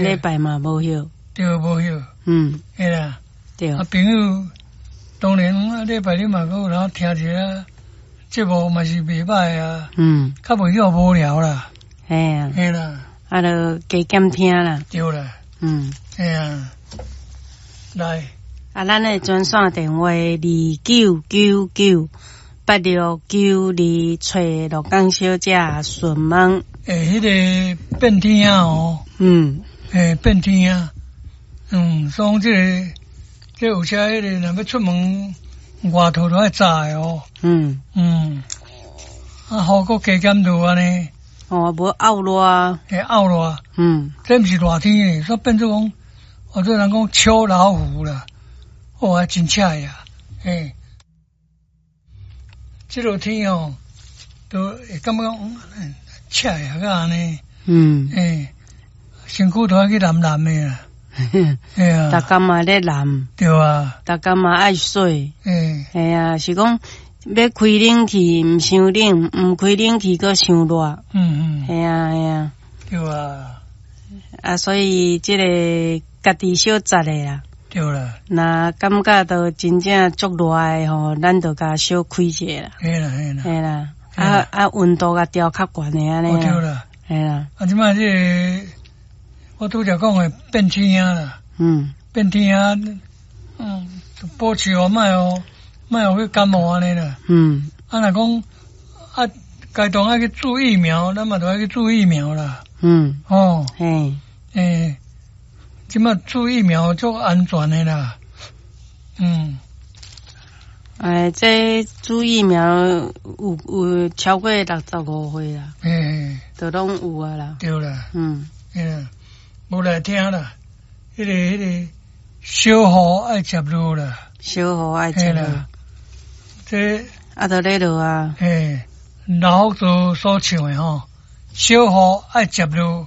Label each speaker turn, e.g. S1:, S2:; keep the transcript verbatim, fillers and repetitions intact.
S1: 禮拜嘛無歇。
S2: 對，無歇。
S1: 嗯。
S2: 嘿啦。
S1: 對。
S2: 啊，朋友，當然啊，禮拜日嘛，閣有人聽一下節目嘛是袂䆀啊。
S1: 嗯。
S2: 較袂去無聊啦。
S1: 嘿啊。
S2: 嘿啦。
S1: 啊，就加減聽啦。
S2: 對啦。
S1: 嗯。
S2: 嘿啊。來。
S1: 啊，咱的專線電話二九九九八六九二，揣鹿港小姐詢問。
S2: 欸，彼個變天啊，哦。
S1: 嗯。
S2: 欸，變天啊。嗯，所以這個，這有時彼個若欲出門外套都愛紮的哦。
S1: 嗯。
S2: 嗯。啊，雨閣加減落按呢。
S1: 哦，無漚熱。
S2: 會漚熱。
S1: 嗯。
S2: 這毋是熱天，煞變做講，哦，這人講秋老虎啦。哦，還真赤呀，嘿。這落天哦，都會感覺講赤呀，甲按呢。
S1: 嗯。
S2: 嘿，身軀都愛去淋淋的啦。嘿啊。
S1: 逐工嘛咧淋。
S2: 對啊。
S1: 逐工嘛愛洗。
S2: 嘿。
S1: 嘿啊，是講欲開冷氣毋傷冷，毋開冷氣閣傷熱。
S2: 嗯嗯。
S1: 嘿啊嘿啊。
S2: 對啊。
S1: 啊，所以這个家己小節的啦。
S2: 對啦。
S1: 若感覺到真正足熱的吼，咱就共小開一下啦。
S2: 嘿啦嘿啦。
S1: 嘿啦，啊啊，溫度共調較懸的按呢。
S2: 對啦。
S1: 嘿啦。
S2: 啊，這擺這个我拄才講的變天啦。
S1: 嗯。
S2: 變天啊，嗯，保持哦，莫予莫予去感冒按呢啦。
S1: 嗯。
S2: 啊，若講啊，該當愛去注疫苗，咱嘛著愛去注疫苗啦。
S1: 嗯。
S2: 哦。
S1: 嘿。
S2: 欸，這擺注疫苗足安全的啦。嗯。
S1: 哎，這注疫苗有有超過六十五歲啦。
S2: 嘿。
S1: 都攏有啊啦。
S2: 對啦。
S1: 嗯。
S2: 嘿啦，無來聽啦，彼个彼个小雨愛接落啦。
S1: 小雨愛接落。
S2: 這
S1: 啊，都咧落啊。
S2: 嘿，老福州所唱的吼，小雨愛接落。